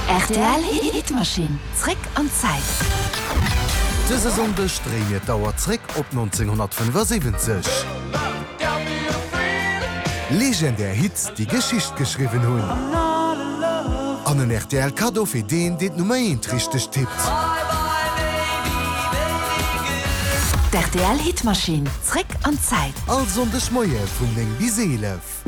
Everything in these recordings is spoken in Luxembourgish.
Rtl Hitmaschinn, zréck an d'Zäit. Dëse Sonndeg dréie mir d'Auer zréck op 1975. Legendär Hits, déi Geschicht geschriwwen hunn. An en rtl Kaddo fir deen, deen d'Nummer eent richteg tippt. D'RTL Hitmaschinn, zréck an d'Zäit. All Sonndeg Moie vun 9 bis 11.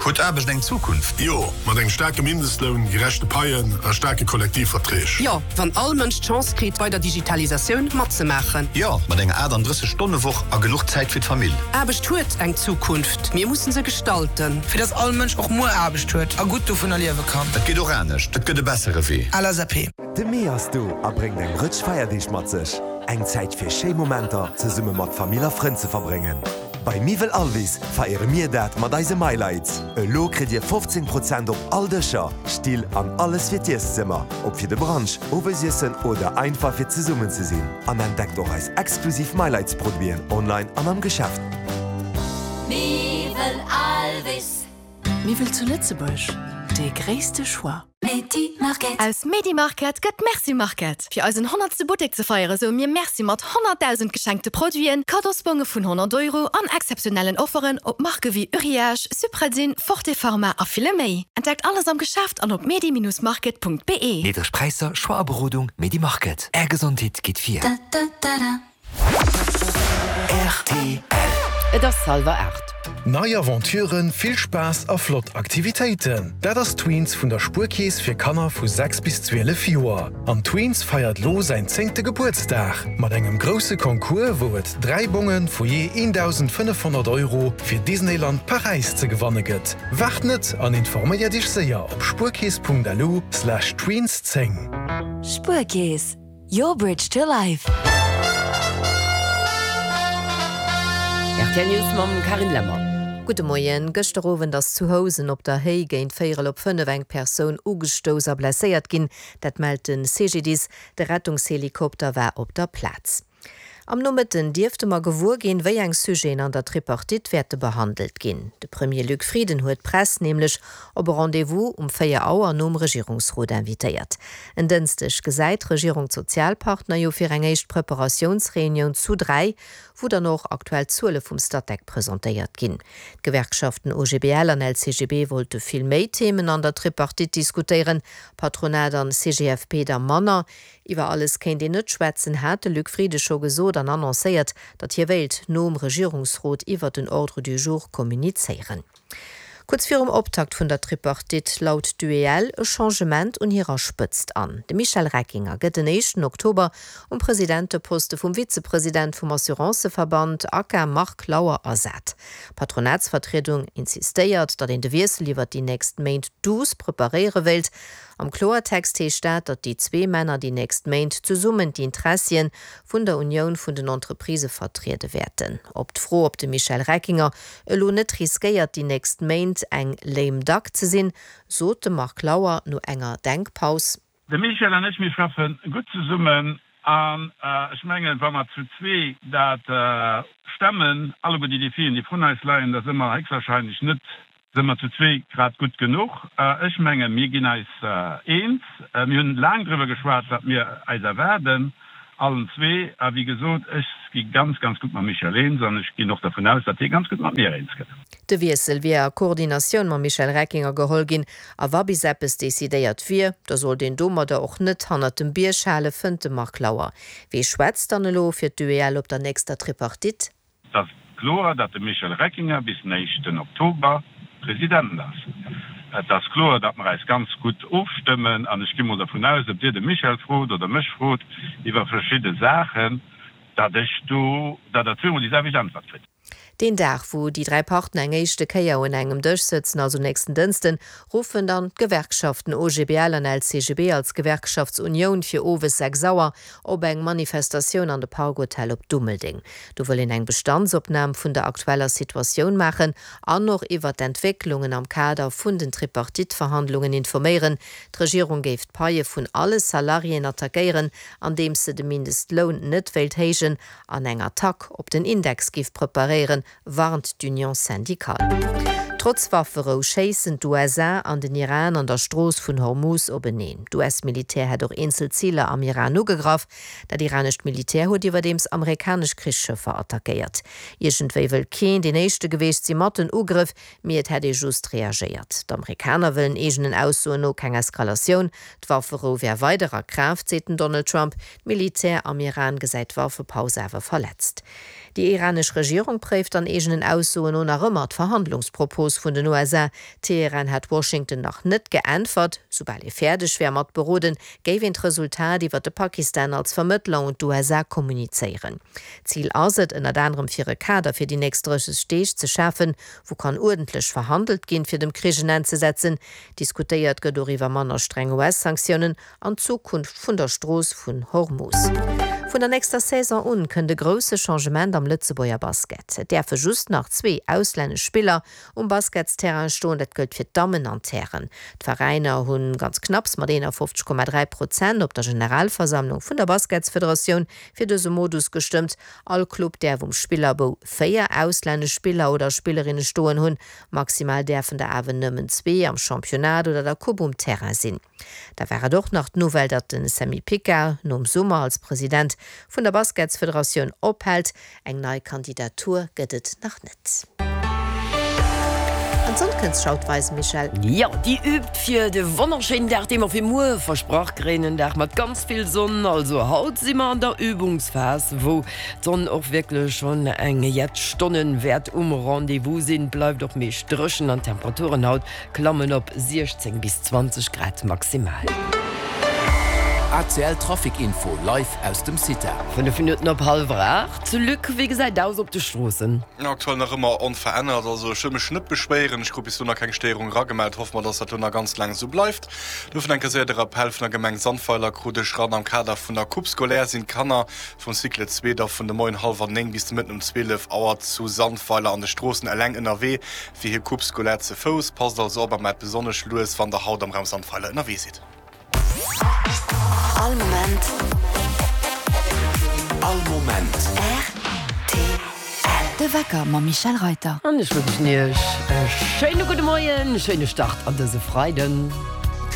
Huet Aarbecht eng Zukunft? Jo, mat engem staarke Mindestloun, gerechte Paien a staarke Kollektivverträg. Jo, wann all Mënsch d'Chance kritt, bei der Digitalisatioun matzemaachen. Jo, mat enger 38 Stonne Woch a genuch Zäit fir d'Famill. Aarbecht huet eng Zukunft, mir mussen se gestalten. Fir dass all Mënsch och muer Aarbecht huet a gutt dovunner liewe kann. Et geet och anescht, et gëtt e bessere Wee. LSAP. De Mee ass do a bréngt eng Rëtsch Feierdeeg mat sech. Eng Zäit fir schéi Momenter zesumme mat Famill a Frënn ze verbréngen. Bei Miwwel Alvis feiere mir dat mat eise MyLights. Elo kritt Dir 15 Prozent op all Dëscher, Still an alles fir d'Ieszëmmer, ob fir de Brunch, Owesiessen oder einfach fir zesummen ze sinn. An entdeckt och eis exklusiv MyLights Produiten online an am Geschäft. Miwwel Alvis. Miwwel zu Lëtzebuerg, dee gréisste Choix. Aus Medi-Market gëtt Merci Market! Fir eisen honnertste Buttek ze feiere soe mir Merci mat 100.000 geschenkte Produiten, Kaddosbonge vun 100 Euro an exzeptionellen Offeren op Marke wéi Uriage, Supradyn, Forte Pharma a ville méi. Entdeckt alles am Geschäft an op medi-market.be. Niddreg Präisser, Choix a Berodung, Medi-Market, Är Gesondheet geet vir. Rtl. Et ass halwer 8. Nei Aventuren, vill Spaass a flott Aktivitéiten, dat ass Tweens vun der Spuerkeess fir Kanner vu 6 bis 12 Joer. An Tweens feiert lo säin zéngte Gebuertsdag mat engem grousse Concours, wou et 3 Bonge vu jee 1.500 Euro fir Disneyland Paräis ze gewanne gëtt. Waart net an informéiert iech séier op spuerkeess.lu/tweens10. Spuerkeess, Your bridge to life. Rtl News mam Carine Lemmer. Gudde Moien. Gëschter Owend ass zu Housen op der Héi géint véierel op 5 eng Persoun ugestouss a blesséiert ginn. Dat mellt de CGDIS. De Rettungshelikopter war op der Plaz. Am Nomëtten dierfte mer gewuer ginn, wéi eng Sujeten an der Tripartite wäerte behandelt ginn. De Premier Luc Frieden huet d'Press nämlech op e Rendez-vous um 4 Auer nom Regierungsrot invitéiert. En Dënschdeg gesäit d'Regierung d'Sozialpartner jo fir eng éischt Preparatiounsreunioun zu 3, wou dann och aktuell Zuele vum Statec presentéiert ginn. D'Gewerkschaften OGBL an LCGB wollte vill méi Themen an der Tripartite diskutéieren, Patronat an CGFP da manner. Iwwer alles kéint een net schwätzen, hat de Luc Frieden scho gesot an annoncéiert, datt hie wéilt nom Regierungsrot iwwer den Ordre du jour kommunizéieren. Kuerz virum Optakt vun der Tripartite laut d'UEL e Changement un hirer Spëtzt an. De Michel Reckinger gëtt den éischten Oktober um Presidenteposte vum Vizepresident vum Assuranceverband ACA Marc Lauer ersat. D'Patronatsvertriedung insistéiert, datt een de Wiessel iwwer déi nächst Méint douce preparéiere wéilt. Am Kloertext heescht dat, datt déi zwee Männer déi nächst Méint zesummen d'Interessien vun der Unioun vun den Entreprisë vertriede wäerten. Op d'Fro, ob de Michel Reckinger elo net riskéiert, déi nächst Méint eng lame duck ze sinn, sot de Marc Lauer no enger Denkpaus. De Michel an ech, mir schaffe gutt zesummen an ech mengen, wa mer zu zwee dat stemmen, alleguer déi Defien, déi vrun eis leien, da si mer héchstwahrscheinlech net Si mer zu zwee grad gutt genuch? Ech mengen, mir ginn eis eens. Mir hunn laang driwwer geschwat, wat mir eis erwaarden, allen zwee. A wéi gesot, ech gi ganz, ganz gutt mam Michel eens an ech ginn och dervun aus, datt hie ganz gutt mat mir eens gëtt. De Wiessel wier a Koordinatioun mam Michel Reckinger geholl ginn. A wa bis eppes decidéiert wier, da sollt een domadder och net hannert dem Bierg halen, fënnt de Marc Lauer. Wee schwätzt dann elo fir d'UEL op der nächster Tripartite? Et ass kloer, datt de Michel Reckinger bis den éischten Oktober President ass. Et ass kloer, datt mer eis ganz gutt ofstëmmen an ech gi mol dervun aus, ob Dir de Michel frot oder mech frot iwwer verschidde Saachen, datt ech do, datt Der zweemol déi selwecht Äntwert kritt. Deen Dag, wou déi 3 Partner eng éischte Kéier un engem Dësch sëtzen, also nächsten Dënsten, ruffen dann d'Gewerkschaften OGBL an LCGB als Gewerkschaftsunioun fir owes 6 Auer op eng Manifestatioun an de Park Hotel op Dummeldeng. Do wëll een eng Bestandsopnam vun der aktueller Situatioun maachen an och iwwert d'Entwécklungen am Kader vun den Tripartite-Verhandlungen informéieren. D'Regierung géif d'Paie vun alle Salariéen attackéieren, andeems se de Mindestloun net wéilt héijen an eng Attack op den Index géif preparéieren, warnt d'Union syndicale. Trotz Wafferou schéissen d'USA an den Iran an der Strooss vun Hormuz openeen. D'US-Militär hätt och eenzel Ziler am Iran ugegraff. Dat iranescht Militär huet iwwerdeems amerikanesch Krichsschëffer attackéiert. Iergendwéi wëll keen deen éischte geweecht si mat den Ugrëff, mee et hätt ee just reagéiert. D'Amerikaner wëllen eegenen Aussoen no keng Eskalatioun. D'Wafferou wär weider a Kraaft, seet den Donald Trump. D'Militär am Iran gesäit d'Waffepaus awer verletzt. Déi iranesch Regierung préift an eegenen Aussoen no nach ëmmer d'Verhandlungspropos vun den USA. Teheran hätt Washington nach net geäntwert. Soubal ee fäerdeg wär mat beroden, géif een d'Resultat iwwer de Pakistan als Vermëttler un d'USA kommunizéieren. Zil ass et ënnert anerem fir e Kader fir déi nächst 30 Deeg ze schafen, wou kann uerdentlech verhandelt ginn, fir dem Krich en Enn ze setzen. Diskutéiert gëtt och iwwer manner streng US-Sanktiounen an d'Zukunft vun der Strooss vun Hormus. Vun der nächster Saison un kënnt e grousse Changement am Lëtzebuerger Basket. Et däerfe just nach zwee auslännesch Spiller um Basketsterrain stoen, dat gëllt fir d'Dammen an d'Hären. D'Veräiner hu ganz knapps mat 51,3 Prozent op der Generalversammlung vun der Basketsfederatioun fir dëse Modus gestëmmt. All Club däerf um Spillerbou 4 auslännesch Spiller oder Spillerinne stoen hunn. Maximal däerfen der awer nëmmen zwee am Championnat oder der Coupe um Terrain sinn. Da war et och nach d'Nouvelle, datt de Sammy Picard nom Summer als President vun der Basketsfederatioun ophält. Eng nei Kandidatur gëtt et nach net. An d'Sonn kënnt sech haut weisen, Michèle. Jo, déi übt fir de wonnerschéinen Dag, dee mer fir muer versprach kréien. En Dag mat ganz vill Sonn. Also haut si mer an der Übungsphas, wou d'Sonn och wierklech schonn eng jett Stonnen wäert um Rendez-vous sinn. Bleift och meescht dréchen an d'Temperaturen haut Klammen op 16 bis 20 Grad maximal. ACL Trafic Info live aus dem CITA. 5 Minutten op hallwer 8. Luc, wéi gesäit aus op de Stroossen? Aktuell nach ëmmer onverännert. Also ech wëll mech net beschwéieren. Ech krut bis elo nach keng Stéierung eragemellt. Hoffe mer, dass dat elo nach ganz laang esou bleift. Dofir enke séier de Rappell vun der Gemeng Sandweiler krut ech ran. Am Kader vun der Coupe scolaire sinn d'Kanner vum Cycle 2 da vun de Moien hallwer 9 bis de Mëtten um 12 Auer zu Sandweiler an de Stroossen eleng ënnerwee. Fir hir Coupe scolaire ze Fouss. Passt also op a maacht besonnesch lues, wann der haut am Raum Sandweiler ënnerwee sidd. All Moment. All Moment. Rtl. De Wecker mam Michèle Reyter. An ech wënschen iech e schéine gudde Moien, e schéine Start an dëse Freiden.